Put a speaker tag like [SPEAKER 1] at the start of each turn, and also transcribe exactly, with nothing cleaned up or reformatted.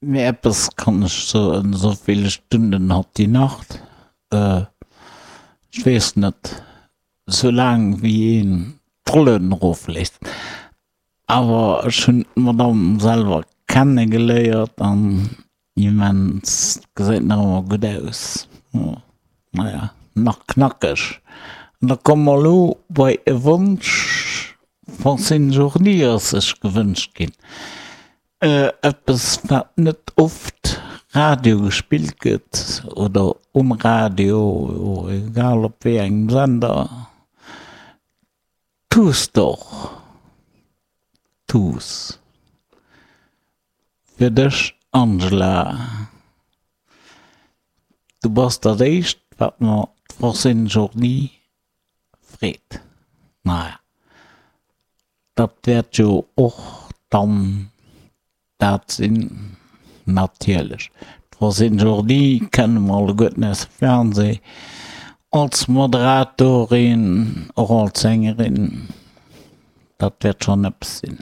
[SPEAKER 1] Mee eppes kann ech soen, esou vill Stunden hat déi Nacht, ech weess net, esou laang wéi een d'Rollen erofléisst. Awer ech hunn d'Madame selwer kenne geléiert an immens, gesäit nach ëmmer gutt aus, naja, nach knackeg. An da komme mer elo bei e Wonsch, Francine Journy ass sech gewënscht ginn. Eppes wat net oft Radio gespillt gëtt oder um Radio, egal op wéi engem Sender, Tu's doch, tu's. Fir dech Angela, du bass dat éischt wat mer d'Francine Journy freet. Naja, dat wäert jo och dann dat sinn, natierlech. D'Francine Jordi kenne mer alleguerten aus dem Fernseh, als Moderatorin, och als Sängerin. Dat wäert schonn eppes sinn.